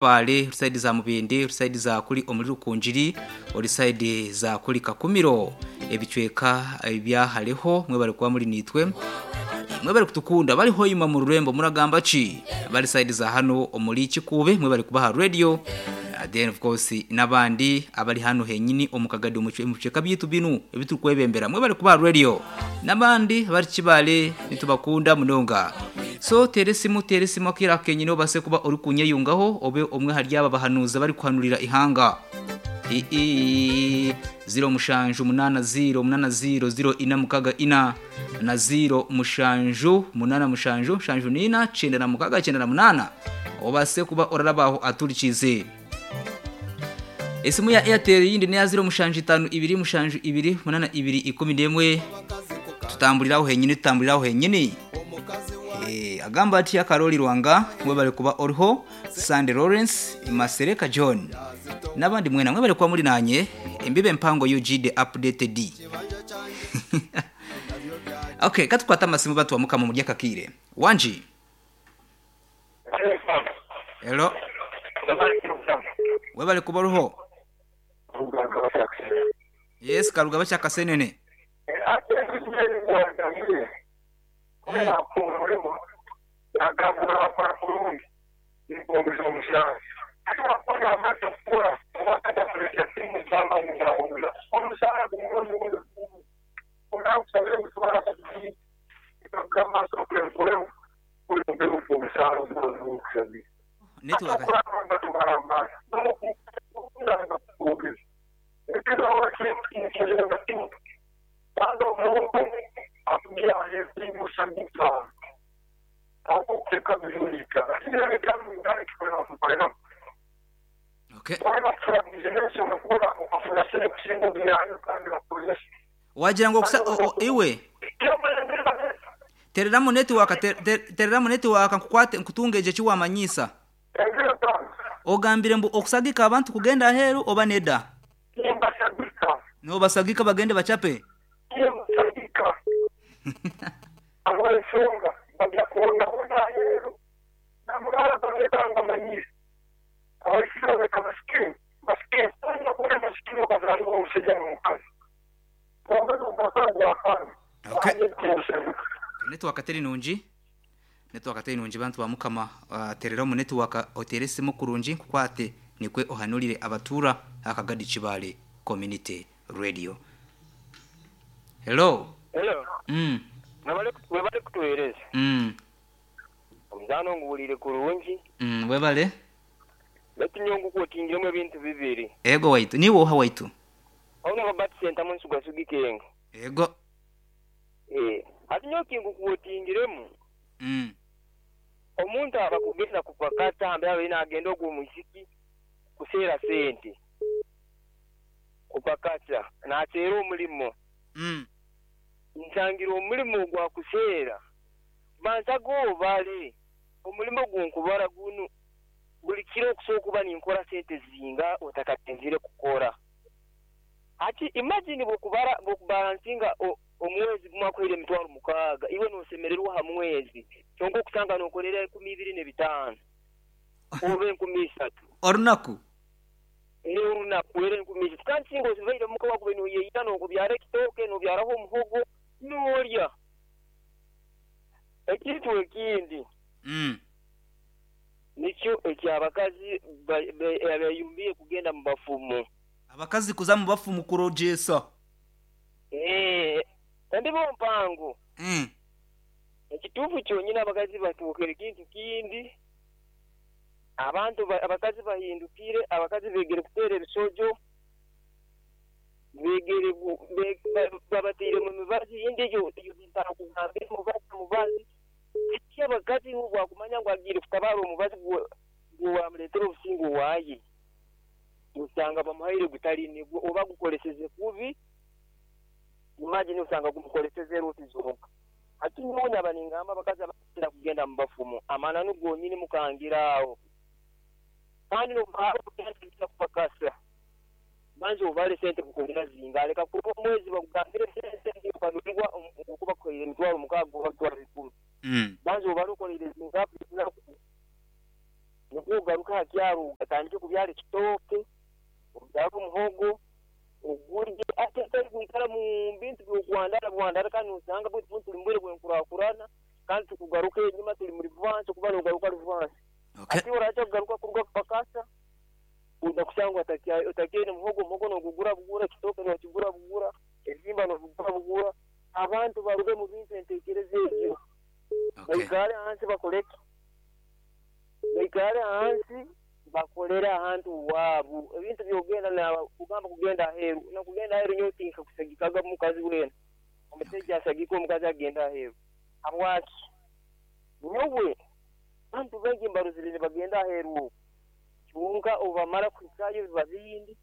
Kabale, ori sayidi za Mubende, ori sayidi za kuri omuri Rukungiri, ori sayidi za kuri Kakumiro, ebicweka ebya hareho mwebare kuba muri nitwe. Mwebare kutukunda bari hoima mu rurembo muragamba ki? Bari sayidi za hano omuri Kikuube mwebare kuba ha radio. Then of course n'abandi abari hano henyini omu kagadi omu bicweka byitu binu ebiturikwebembera mwebare kuba ha radio. N'abandi abari Kibale nitubakunda munonga. So teera esimu teera esimu akaire aka kenyini obase kuba orikunyeyungaho obe omwe ahari aba bahanuuzi abarikuhanurira ihanga. Ii ziro mushanju munaana ziro munaana ziro ziro ina mukaga ina na ziro mushanju munaana mushanju mushanju n'ina kyenda na mukaga kyenda na munaana obase kuba orarabaho aturikize. Esimu ya Airtel yindi neya ziro mushanju itanu ibiri mushanju ibiri munaana ibiri ikumi n'emwe tutambuliraho henyini tutambuliraho henyini. Eh, agamba ati Karoli Rwanga mwebale kuba oriho Sande Lawrence Masereka John n'abandi mwena mwebale kuba muri nanye embibe mpango UG the updated. Okay, katukwata amasimu batu mukama mu ryakakire. Wanji. Hello. Webale kuba oriho. Yes, Karugaba kyakasenene. Network. Okay. Wagira ngo kusa o, o, iwe tereramu network tereramu network nkukwate nkutungeje kiwamanyisa ogambire mbu okusagika abantu kugenda aheru oba neda nobasagika bagende bachape Okay. Network teri nungi network teri nungi bantu ba mukama tereramu network oteresemu kurungi nkukwate nikwe ohanurire abatura akagadi Kibale Community Radio. Hello. Hello. Webale kutuhereza. Omuzaano nguwulire kurungi. Webale. Baitu nyowe ngukotingiremu ebintu bibiri. Ego waitu niwe oha waitu. Ono Robert Sentamu nsugasugi kenga. Ego. Hati nyowe kingukotingiremu. Omuntu aba kugenda kupakata ambe abe nagenda ogwo omwisiki kuseera sente. Kupakata nateera omulimo. Nsangira omulimo gwa kuseera. Banza gobale omulimo gunkubara gunu buli kiro okusobola okuba ninkora sente zinga otakatenzire kukora. Ati imagine bwokubara bwokubalansinga omwezi gumwe akuhaire emitwaro 6 iwe nosemererwa aha mwezi kyonka okusanga nokorera 25 oba 30 orunaku orunaku era 30 kandi singa osibaire muka wakuba noyeyita nokubyara ekitooke nobyaraho omuhogo norya. Ekintu ekindi nikyo ekyabakazi abayumbiye kugenda mu bafumu. Abakazi kuza mu bafumu kurojesa. Kandi bo mpango. Ekituufu kyonyine abakazi batuukire kintu kindi. Abantu abakazi bahindukire, abakazi begere kuteera ebisojo, begere babateire mu mibazi yindi egyo ntakugambira omubazi. Eki abakazi bwakumanya ngu agiire kutabaara omubazi gwamureetera obusinge owaaye. Osanga bamuhaire gutari nigwo oba gukoreseze kubi. Imagine osanga gumukoreseze ruti zonka. Ati nyowe naba ningamba abakazi abakira kugenda mu bafumu amananu gonyini mukangira aho. Kandi n'okugenda kupakasa. Banza obale sente kukolera zinga aleka kuba omwezi bakugambire sente okanulirwa okuba kukolera emitwaro 6 oba emitwaro 10. Banza obale okolere zinga. Nikwo ogaruke aha kyaro otandike kubyara ekitooke, obyare omuhogo, ogurye ate otari kwikara mu bintu by'okwandara bwandara kandi nosanga beitu bunu turi mu bwire bw'enkurakurana kandi tikugaruka enyima turi mu rivansi okuba nogaruka rivansi. Okay. Hati oraija kugaruka kuruga kupakasa oija kushanga otakyaine muhogo, omuhogo nogugura bugura, ekitooke nokigura bugura, ebihimba nobigura bugura. Abantu baruge mu bintu entekereza egyo. Okay. Baikare ahansi bakore ki? Baikare ahansi bakolere ahantu owaabu. Ebintu by'ogenda kugamba kugenda aheeru, n'okugenda aheeru nyowe tinkakusagikaga mukazi weena. Omusaija asagike omukazi agende aheeru. Habwaki? Nyowe abantu baingi mbarozire nibagenda aheeru oku, kyonka obu bamara kuhikayo biba bindi.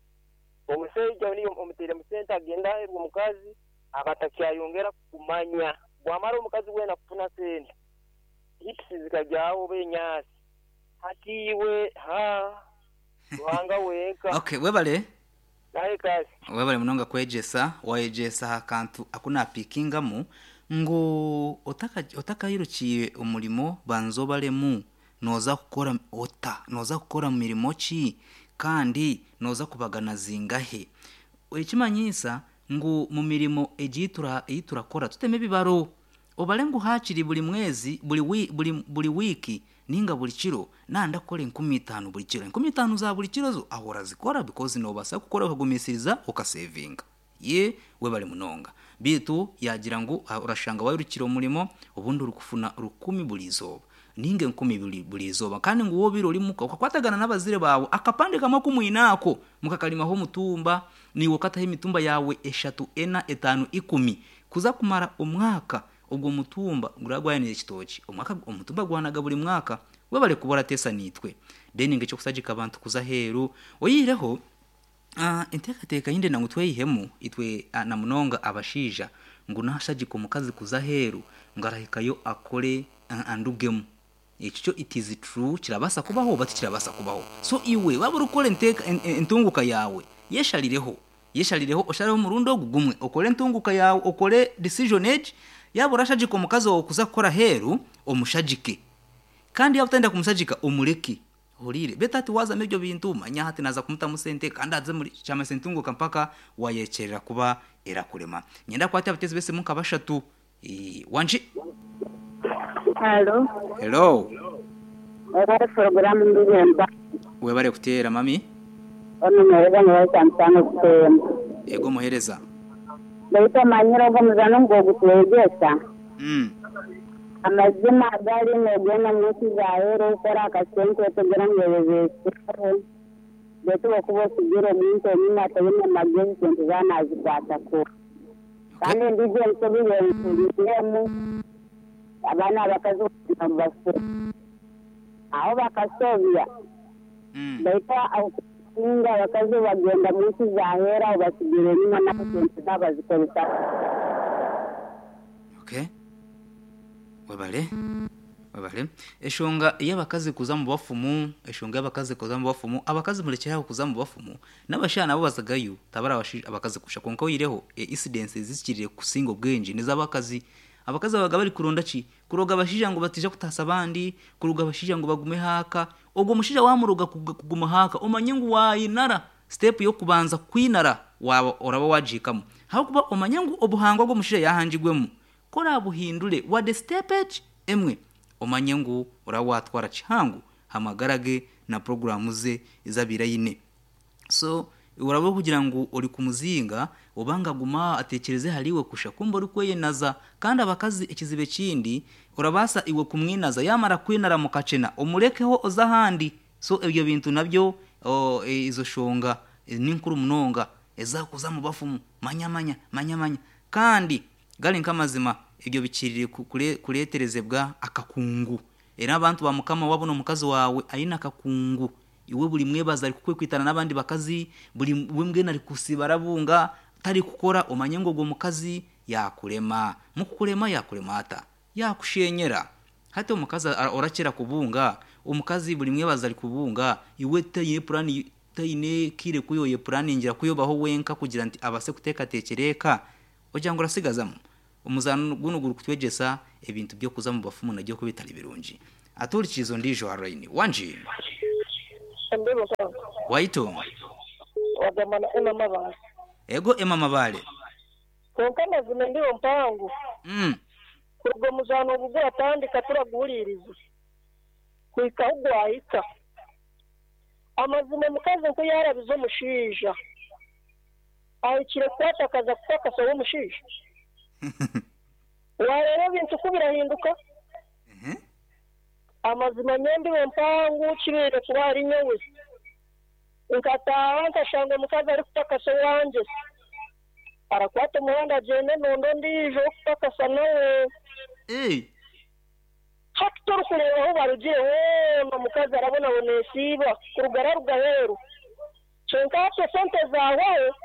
Omusaija niiwe omuteiremu sente agenda aheeru omukazi aba atakyayongera kukumanya. Bwamara omukazi weena kufuna sente, hips zikagyaho oba enyaasi. Hati iwe, haa, Ruhanga wenka. Okay, webale. Naye kasi. Webale munonga kwegyesa, wayegyesa aha kantu aku napikingamu ngu otakayirukiire omurimo banza obaremu noza kukora ota, noza kukora mirimo ki kandi noza kubagana zingahe. Ekimanyiisa ngu mu mirimo egi ei turakora tuteme ebibaro. Obare ngu haakiri buri mwezi, buri wi, buri, buri wiiki nainga buri kiro naaba ndakukora 5000 buri kiro. 5000 za buri kiro zo aho orazikora because noobaasa kukora okagumisiriza okasevinga. Ye, webare munonga. Beitu yaagira ngu orashanga wairukira omurimo obundi orikufuna rukumi buri izooba nainga enkumi ibiri buri izooba kandi ngu wobaire ori muka okakwatagana n'abazaire baawe akapande kamwe aku mwine ako mukakarimaho omutumba naiwe okataho emitumba yaawe eshatu, ena, etaano, ikumi kuza kumara omwaka ogwo mutumba guraba gwayanire ekitookye omwaka omutumba gwanaga buri mwaka webare kuba orateesa naitwe then ngu eky'okusagika abantu kuza aheeru oyihireho enteekateeka ei ndenda ngu tweyihemu itwe na munonga abashaija ngu nashagika omukazi kuza aheeru ngu arahikayo akore andugemu Ekyo kyo it is true kirabaasa kubaho oba tikirabaasa kubaho. So iwe waaba orikukora entunguka yaawe yesharireho, yesharireho oshareho omurundi ogu gumwe okore entunguka yaawe okore decision egi, yaaba orashagika omukazi waawe kuza kukora aheeru omushagike kandi yaaba otarikwenda kumushagika omureke. Ohuriire? Beitu hati waazamu ebyo bintu manya hati naaza kumutamu sente kandi aze omuri kyamanyisa entunguka mpaka waayekyerera kuba erakurema. Niinyenda kukwata abateezi b'esimu nka bashatu. Wangi. Halo. Hello. Webale puroguramu Ndihemba. Webale kuteera mami. Onu muhereza nibaita Mutano Butembo. Ego muhereza. Baitu omanyire ogwo omuzano ngu ogutwegyesa? Amazima agari nogenda omunsi zaheru okukora akasente otegera ngu oyebeseho baitu bwokuba osigire omuntu enyuma ataine magezi sente zawe nazikwata kubi. Kandi endiijo ensobi y'enkuriramu, abaana abakazi boona nibasobya. Aho bakasobya, baitu okusinga abakazi obu bagenda mu nsi z'aheeru aho basigira enyima nabo sente zaabo bazikozesa kubi. Okay. Webale. Webale. Eshonga y'abakazi kuza omu bafumu, eshonga y'abakazi kuza omu bafumu, abakazi murekyere aho kuza omu bafumu, N'abashaija nabo bazagayo, tabari abakazi kusha. Kwonka oihireho, incidents ezikirire kusinga obwingi n'ez'abakazi. Abakazi babaga bari kuronda ki? Kuroga abashaija ngu bataija kutaasa abandi, kuroga abashaija ngu bagume haaka. Ogwo mushaija waamuroga kuguma haaka, omanye ngu waayinara step y'okubanza kwinara waaba oraba waagihikamu. Ahabw'okuba omanye ngu obuhangwa bw'omushaija yaahangirwemu, ku oraabuhindure wadde step egi emwe, omanye ngu oraba waatwara kihango aha magara ge na puroguraamu ze ezi abaire aine. So oraba orikugira ngu ori kumuzinga oba ngu agume aho atekyereze ahari iwe kusha kumbe orikweyenaza. Kandi abakazi ekizibu ekindi orabaasa iwe kumwinaza yamara kukwinara mukakyena omurekeho oze ahandi. So ebyo bintu nabyo ezo shonga ninkuru munonga ezakuza omu bafumu manya manya manya manya. Kandi gari nk'amazima ebyo bikirire kureterezebwa akakungu. Era abantu ba mukama wabona omukazi waawe aine akakungu Iwe buri mwebazo arikukwekwitana n'abandi bakazi, buri we mbwenu arikusiiba arabunga, tarikukora, omanye ngu ogwo mukazi yaakurema. Mukukurema yaakurema ata? Yaakushenyera. Hati omukazi orakira kubunga, omukazi buri mwebazo arikubunga, iwe taine puraani, taine kaire ku oyepuraningira ku obaho wenka kugira nti abaase kuteekateekyera eka, ogira ngu orasigazamu? Omuzaano gunu gurikutwegyesa ebintu by'okuza omu bafumu nabyo ku bitari birungi. Atuhurikiize ondiijo aha rayini. Wangi? Embeho mpango. Waitu? Wagamba na Emma Mabale. Ego Emma Mabale. Kwonka amazima embeho mpango. Kuruga omuzaano ogu gwatandika turaguhuriirize kuhika ahu gwahika. Amazima omukazi nku yaarabize omushaija ahikire kukwata akaza kupakasa ow'omushaija? Waareeba ebintu ku birahinduka? Amazima nyowe mpango kibaire kuba ahari nyowe. Nkataaha nkashanga omukazi arikupakasa owangye. Arakwata omuhanda agyende nonde ondiijo ow'okupakasa nawe. Hati torikureeba ahu barugire hoona omukazi arabonabona esiiba kuruga araruga aheeru. Kyonka hati esente zaahwaho,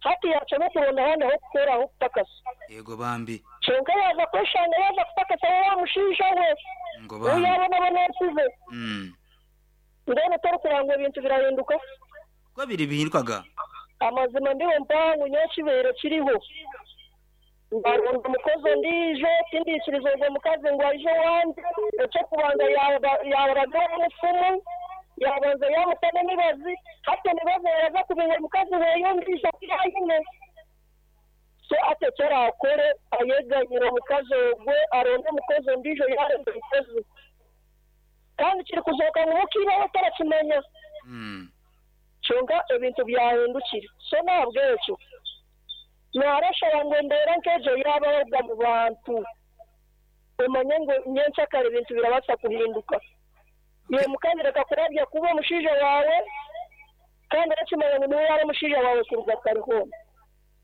hati yaacwamu kuronda ahandi ah'okukora ah'okupakasa. Eego bambi. Kyonka yaaza kweshanga yaaza kupakasa wa mushaija we Ngu ou bambi. yaabonaboneesize. Mbwenu torikureeba ngu ebintu birahinduka? Ku ebiri bihindukaga. Amazima ndiho mpango nyowe ekibaire kiriho. Nkaronda omukozi ondiijo, tindiikiriza ogwo mukazi ngu aije owangye. Eky'okubanza yaaraga ow'omufumu, yaabanza yaamuta n'emibazi, hati emibazi yaaza kubinga omukazi weeye ondiijo ou yaine. So hati eki araakore, ayeganyire omukazi ogwo, aronde omukozi ondiijo yaaronda omukozi. Kandi kirikuzooka ngu muka iba we tarakimanya. Kyonka ebintu byahindukire. So n'ahabw'ekyo. Naarashaba ngu embeera nk'egyo yaabaho omu bantu, omanye ngu nyenkyakare ebintu birabaasa kuhinduka. Iwe mukazi reka kurabya kubi omushaija waawe, kandi orakimanya ngu niwe yaaba omushaija waawe kuruga kare hoona.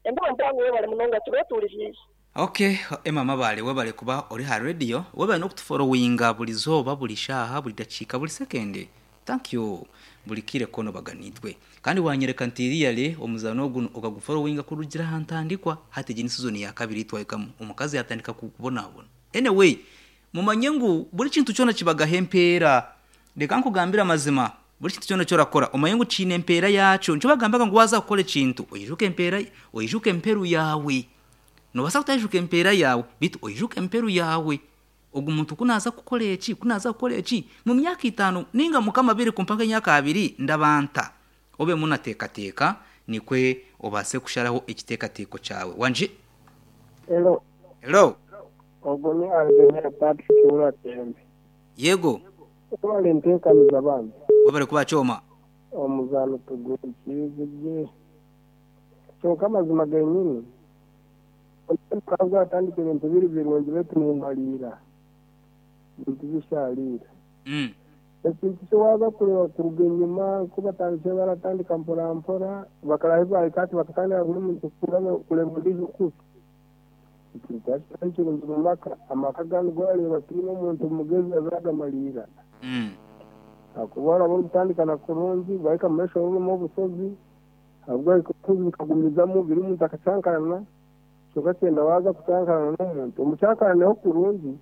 Embeho mpango webare munonga tube tuhurikiize. Ok Emma Mabale webale kuba ori aha radio, webale n'okutuforowinga buri zooba, buri shaaha, buri dakiika, buri sekendi. Thank you buri kaire koona obaga naitwe. Kandi wanyereka nti really omuzaano ogu okaguforowinga kurugira aha ntandikwa hati egi ni season ya kabiri ei twahikamu omukazi yatandika kubonabona. Anyway mumanye ngu buri kintu kyona kibagaho empeera. Reka nkugambire amazima buri kintu kyona eki orakora omanye ngu kiine empeera yaakyo. Nikyo bagambaga ngu waaza kukora ekintu oijuke empeera oijuke emperu yaawe. Noobaasa kutaijuka empeera yaawe beitu oijuke emperu yaawe. Ogu muntu ku naaza kukora eki, ku naaza kukora eki, mu myaka itaano nainga Mukama abaire kumpa nk'emyaka abiri, ndaba nta? Obemu nateekateeka nikwe obaase kusharaho ekiteekateeko kyawe. Wangi? Hello. Hello. Ogwo ni Anzemere Patrick Rwatembe. Yego. Webale nteekaniza bambi. Webale kuba kyoma. Omuzaano tuguhurikiize gye. Kyonka amazima genyini, omuzaano gukaba gwatandika ebintu biri birungi beitu nimariira ebintu bishariire. Ekintu ki waaza kureeba kuruga enyima ku batandikire baratandika mpora mpora bakaraha ahu baahika hati bakatandika buri muntu kureeba ondiijo kubi. Ekintu kyaba kitari kirungi omu maka, amaka ganu waareeba tihaine omuntu mugezi azagamariira. Ahakuba oraba orikutandika kurungi waahika omu maisho orimu obushozi, Ahabw'oku bikagumizamu biri omuntu akacankarana, kyonka kyenda waaza kucankarana n'omuntu, omucankaraneho kurungi,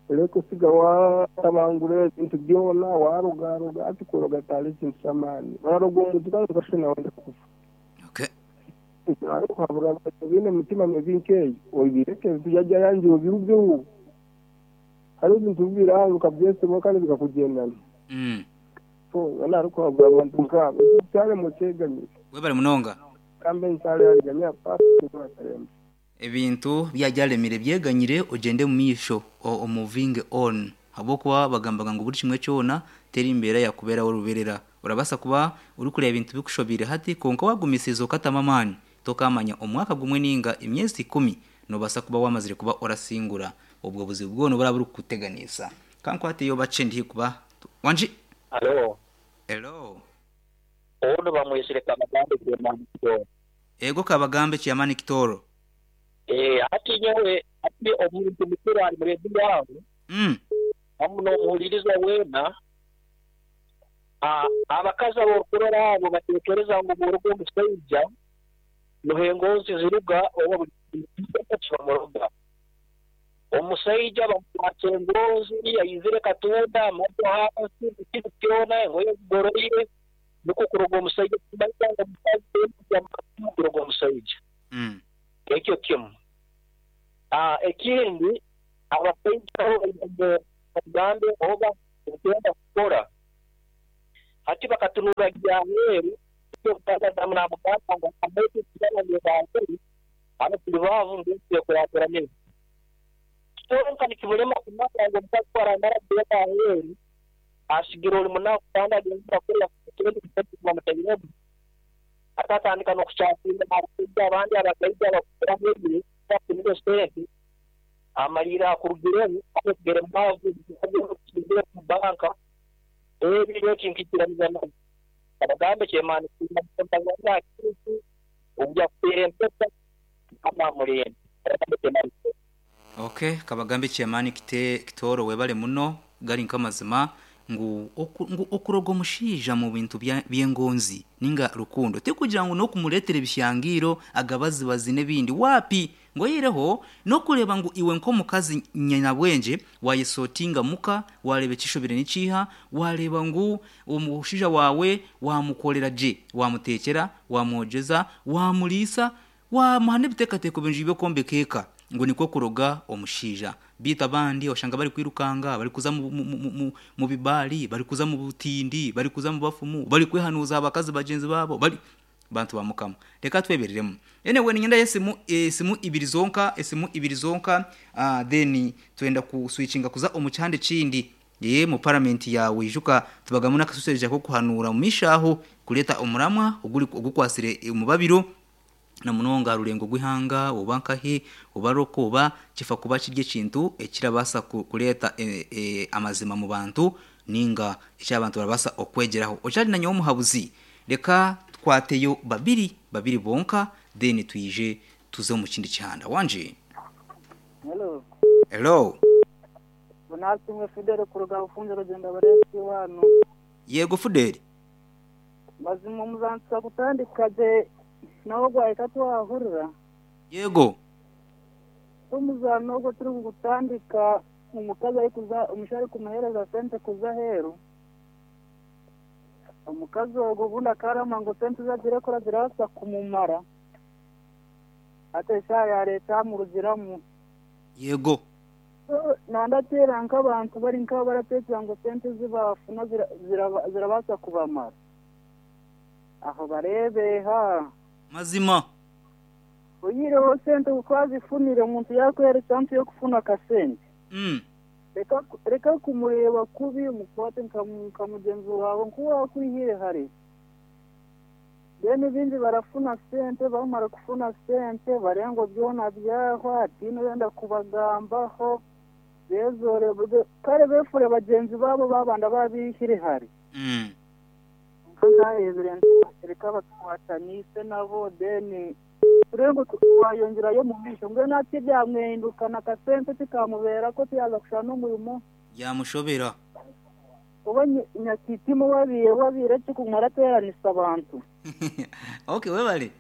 oreke kusiga waatabangura ebintu byona, waarogaroga, hati kuroga tihariho ekintu ky'amaani. Oraroga omuntu kandi okashusha nawe orenda kufa. Ekyo kuhabura abantu abaine emitima mibi nk'eyo, obireke ebintu byajya obirugeho. Hariho ebintu bibiri aha okabyesibaho kandi bikakugyendana. Hoona arikuhabura abantu nkaabo, ekyo kyaremwa okyeganyire. Webare munonga. Kambe nsaare ahari Ganya Patrick Rwakaremba. Ebintu byagyaremire byeganyire ogyende omu maisho o movinge on habwokuba bagambaga ngu buri kimwe kyona teri mbeera yakuberaho ruberera. Orabaasa kuba orikureeba ebintu bikushobeire hati kwonka wagumisiriza okatamu amaani tokamanya omwaka gumwe ninga emyezi ikumi nobaasa kuba wamazire kuba orasingura obwo buzibu bwona oburaba burikukuteganisa. Kankwateyo bakye ndi haihi kuba Wangi. Halo. Hello. Onu bamwesire Kabagambe Chairman Kitooro. Ego Kabagambe Chairman Kitooro. Eeh hati nyowe hati omuntu mukuru ari mu rediyo aho hamu n'omuhuliriza weena, abakazi ab'orukurora abo batekereza ngu bw'oruga omusaija nuho engonzi ziruga oba buli kintu kyona kibamuroga. Omusaija bamukwatsa engonzi, aizire katunda, amaju hansi, buli kintu kyona, engoye zigoroire, nukwo kuroga omusaija tikimanyisa ngu omukazi weena kuroga omusaija. Ekyo kimu. Ekindi, abasaija nabo baine. Tugambe oba turikwenda kukora. Hati bakatunura gye aheeru, nikyo omukazi adamu naamugamba ngu amaitu tugaba ngebaakuri, hanu turi baavu mbwenu twekurakuranize. Kyonka nikimurema kumanya ngu omukazi ku araamara kugenda aheeru, asigire ori munaku kandi agenzire kukora ekindi kintu bamutairemu. Hati atandika n'okukyaakinga abashaija abandi abagaija abakukiraho ebiro bafunire sente, amariire akurugiremu asigire mwavu asigire omu banka. Ebi nyowe tinkikiraniza nabyo. Abagambe kyemani kusiima omukazi wange aha kintu obu yakuteera empeta Mukama amurinde. Abagambe kyemani Kitoro. Ok kabagambe kyemani Kitoro webale muno gari nkamazima ngu ngu okuroga omushaija mubintu byengonzi ninga rukundo tikugira ngu nokumuretera ebishangiiro agabazibazi nebindi wapi Ngu oihireho n'okureeba ngu iwe nk'omukazi nyinabwengye waayesotinga muka, waareeba ekishobire ni kiiha, waareeba ngu omushaija waawe waamukorera gye, waamuteekyera, waamwogyeza, waamuriisa, waamuha n'ebiteekateeko birungi by'okwombeka eka, ngu nikwo kuroga omushaija. Beitu abandi oshanga barikwirukanga, barikuza mu bibaari, barikuza mu butindi, barikuza mu bafumu, barikwehanuuza aha bakazi bagyenzi baabo, bari. Bantu ba Mukama. Reka twebereremu. Anyway niinyenda esimu esimu ibiri zonka esimu ibiri zonka ah, then twenda ku switchinga kuza omu kihanda ekindi eh, mu parliament yaawe ijuka tubagamu n'akasuseja k'okuhanuura omu maisho aho kureeta omuramwa oguri ogukwasire omubabiro na munonga aha rurengo rw'eihanga oba nkahi oba roko oba kifa kuba kiri ekintu ekirabaasa kureeta amazima mu bantu ninga eki abantu barabaasa okwegyeraho. Okyari na nyowe omuhabuzi? Reka tukwateyo babiri babiri bonka then twije tuze omu kindi kihanda. Wangi? Hello. Hello. Nasimwe Fidel kuruga Bufunjo Rugyenda Barensi wanu. Yego Fidel. Mazima omuzanisa kutandika gye nawe gwahika twahurira. Yego. Omuzano ogwo turi kugutandika omukazi arikuza omushaija arikumuhereza sente kuza aheeru. Omukazi ogwo obundi akarama ngu sente ezi agiire kukora zirabaasa kumumara. Hati eshaaha yaareeta amurugiramu. Yego. Nandateera nk'abantu bari nk'abo barateekyera ngu sente ezi baafuna zirabaasa kubamara. Aho bareebe ha. Mazima. Oyihireho sente ku wazifunire omuntu yaakuheera ekyampu y'okufuna akasente. Reka kumureeba kubi omukwate nka mugyenzi waawe nku waakwihire hare. Mbwenu baingi barafuna sente bamara kufuna sente bareeba ngu byona byahwa hataine orenda kubagambaho bezoore kare beefure bagyenzi baabo baabandi abaabihire hare. Kwonka nkareebire nti reka batukwataniise nabo then turebe ngu twayongyerayo omu maisho. Mbwenu hati byamwehindukana akasente tikamubeerako tiyaaza kushana n'omurimo. Byamushobera. Oba nyakitima owabaire wabaire ki kuguma arateeranisa abantu. Ok webale.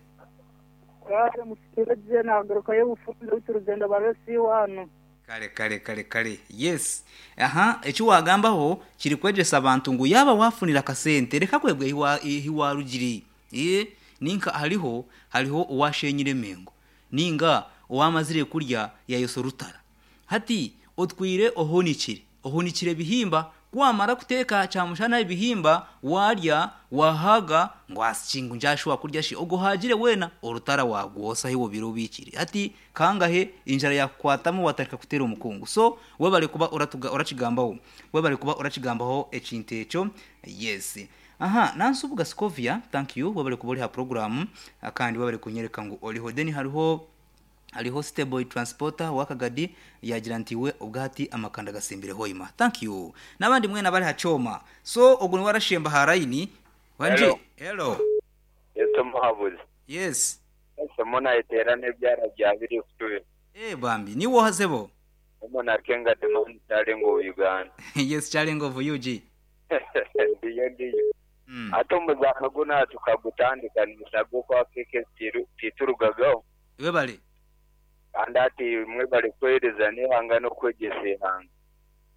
Kare mushukire gye nagarukayo obufunze beitu rugyendo baresi wanu. Kare kare kare kare yes aha eki wagambaho kiri kwegyesa abantu ngu yaaba wafunire akasente reka kwebwa ahi warugire eeh ninka hariho hariho owashenyire emengo ninga owamazire kurya yayosa orutara hati otwire ohunikire Ohunikire ebihimba, ku wamara kuteeka kyamushana ebihimba, waarya, waahaaga, ngu asi ngu ngyashuba kurya shi, ogwo ohaagire weena, orutara waagwosa ahi obaire obiikire. Hati kangahe enjara yaakukwatamu waatandika kuteera omukungu. So, webare kuba oratuga orakigambaho. Webare kuba orakigambaho ekintu ekyo. Yes. Aha, Nansubuga Scovia, thank you, webare kuba ori aha puroguraamu, kandi webare kunyereka ngu oriho. Then hariho. Hariho Steboy Transporter owa Kagadi yaagira nti iwe obwahati amakanda gasimbire hoima. Thank you. N'abandi mwena abari ha kyoma. So ogwo niwe arashemba aha line. Wangi? Hello. Hello. Yesu omuhabuzi. Yes. Esomo nayeteera n'ebyara bya biri kutubi. Eh bambi. Niiwe oha sebo? Omu nakenga demand kyarenga obu Uganda. Yes kyarenga obu UG. Ndiyo ndiyo. Hati omuzaano gunu aha tukagutandika nimusaga okwa KK titurugagaho. Webale. Kandi hati mwebale kuheereza n'eihanga n'okwegyesa eihanga.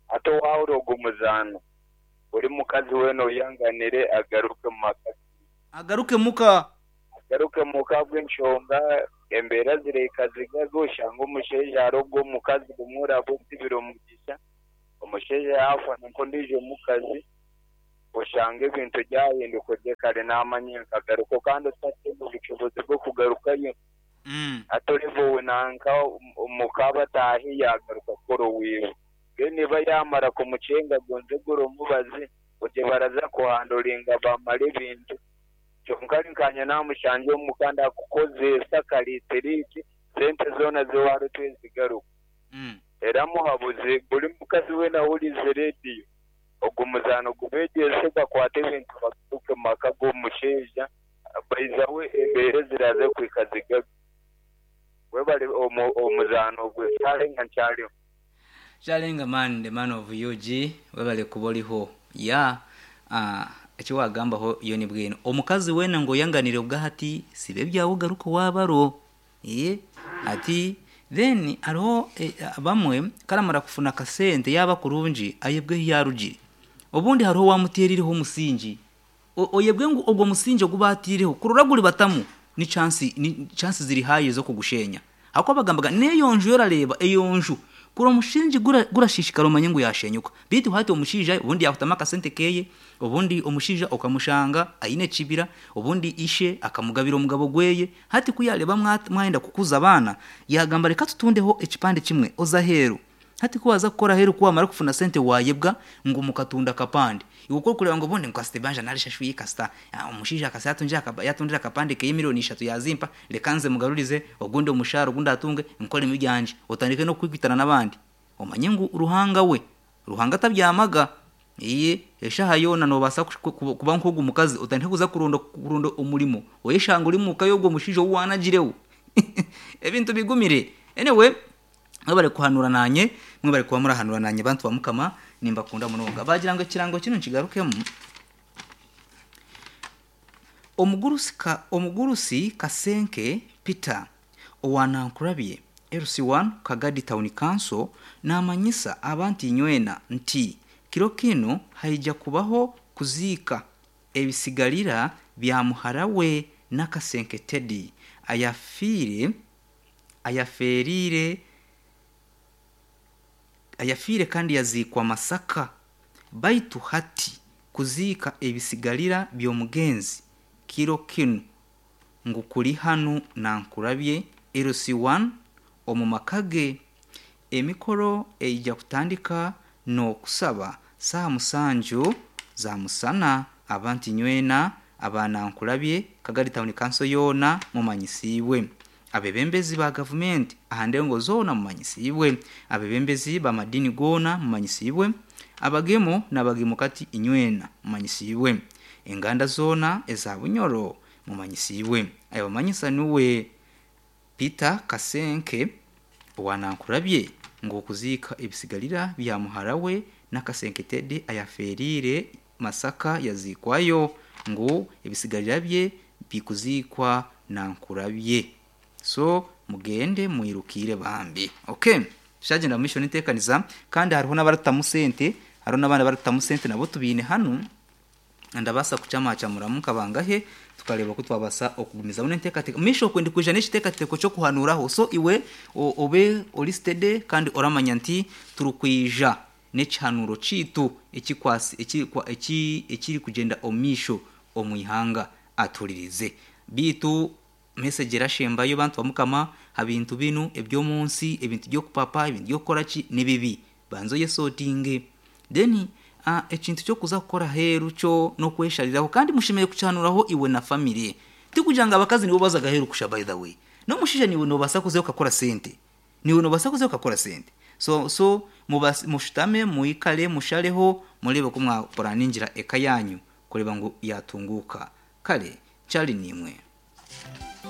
Hati owaahurira ogwo muzaano, buri mukazi weena oyanganire agaruke mu maka ge. Agaruke muka. Agaruke muka ahabw'enshonga embeera zirahika zigaga oshange omushaija hariho ogwo omukazi gumwe oraba otsibire omugisha. Omushaija yaafuna nk'ondiijo mukazi, oshanga ebintu byahinduka ogye kare naamanya nkagarukayo kandi otakyaine obushobozi bw'okugarukayo. Hati oreeba ou nanka muka bataahi yaagaruka kukora owiwe. Mbwenu niba yaamara kumukyenga gonza egura omubazi, ogye baraza kuhandoringa bamare ebintu. Kyonka ari nkaanye naamushangye omuka ndakukozeesa akareetera eki, sente zoona zi waareetwa zigaruka. Era muhabuzi, buri mukazi weena ahuriize rediyo, ogu muzaano gubeegyese bakwate ebintu bagaruke omu maka g'omushaija, baizaho embeera eziraaze kuhika zigaruke. Webare omuzaano ogwo Kyarenga nkyariho. Kyarenga man the man of UG webale kuba oriho yeah eki wagambaho yo nibwino omukazi weena ngu oyanganire obwahati siba ebyawe ogaruke owabaro eeh ati then hariho abamwe karamara kufuna akasente yaba kurungi ayebwa ehi yarugire obundi hariho owamuterireho omusingi Oyebwe ngu ogwo musingi ogu baataireho kurora guri batamu ni chance ni chance ziri high ez'okugushenya. Ahakuba bagambaga n'eyo nju y'orareeba eyo nju kuri omusingi gura gurashiishikara omanye ngu yaashenyuka. Beitu hati omushaija obundi yaakutamu akasente keeye, obundi omushaija okamushanga aine ekibira, obundi ishe akamugabira omugabo gweye, hati ku yaareeba mwayenda kukuza abaana, yaagamba reka tutundeho ekipande kimwe oze aheeru. Hati ku waaza kukora aheeru ku waamara kufuna sente waayebwa ngu mukatunda akapande. Iwe ku orikureeba ngu obundi ngu kasita ebanja naarishashwire kasita omushaija kasita yaatundira akapande keye milioni ishatu yaazimpa reka nze mugarurize ogundi omushaara ogu ndaatunge nkoremu ebyangye. Otandike n'okukwitana n'abandi. Omanye ngu Ruhanga we, Ruhanga tabyamaga. Eeh eshaaha yoona noobaasa kuba nk'ogu mukazi otandike kuza kuronda kuronda omurimo oyeshange ori omuka y'ogwo mushaija ou waanagireho. Ebintu bigumire. Anyway. Mwebare kuhanura nanye, mwebare kuba murahanura nanye bantu ba Mukama, nimbakunda munonga. Bagira ngu ekirango kinu nkigarukemu. Omugurusi ka omugurusi Kasenke Peter owa Nankurabye LC1 Kagadi Town Council namanyisa abantu inywena nti kiro kinu haija kubaho kuziika ebisigarira bya muhara we Nakasenke Teddy ayafiire ayafeereire ayafiire kandi yaziikwa Masaka baitu hati kuziika ebisigarira by'omugenzi kiro kinu ngu kuri hanu Nankurabye LC1 omu maka ge. Emikoro eija kutandika n'okusaba saaha musanju za musana abantu inywena aba Nankulabye, Kagadi Town Council yoona mumanyisiibwe. Abebembezi ba gavumenti aha ndengo zoona mumanyisiibwe. Abebembezi b'amadiini goona mumanyisiibwe. Abagemo n'abagemukati inywena mumanyisiibwe. Enganda zoona eza Bunyoro mumanyisiibwe. Ayabamanyisa nuwe Peter Kasenke owa Nankurabye ngu okuziika ebisigarira bya muhara we Nakasenke Teddy ayafeeriire Masaka yaziikwayo ngu ebisigarira bye bikuziikwa Nankurabye. So mugende mwirukiire bambi. Ok tushagyenda omu maisho n'enteekaniza kandi hariho n'abarikutamu sente, hariho n'abandi abarikutamu sente nabo tubaine hanu. Ndabaasa kukyamakyamuramu nka bangahe tukareeba oku twabaasa okugumizamu n'enteekateeka. Omu maisho okwe ndikwija n'ekiteekateeko ky'okuhanuuraho. So iwe obe ori steady kandi oramanya nti turikwija n'ekihanuuro kyaitu ekikwasi eki ekirikugyenda omu maisho omu ihanga. Atuhuririze. Beitu message erashembayo bantu ba Mukama ha bintu binu eby'omu nsi, ebintu by'okupapa, ebintu by'okukora ki, ni bibi. Banza oyesortinge. Then ekintu ky'okuza kukora aheeru kyo n'okweshariraho kandi mushemereire kukihanuraho iwe na family. Tikugira ngu abakazi nibo bazaga aheeru kusha by the way. N'omushaija naiwe noobaasa kuzayo okakora sente. Naiwe noobaasa kuzayo okakora sente. So so mushutame, mwikare, mushareho mureebe oku mwapuraningira eka yaanyu kureeba ngu yaatunguuka. Kare, Charlie niimwe.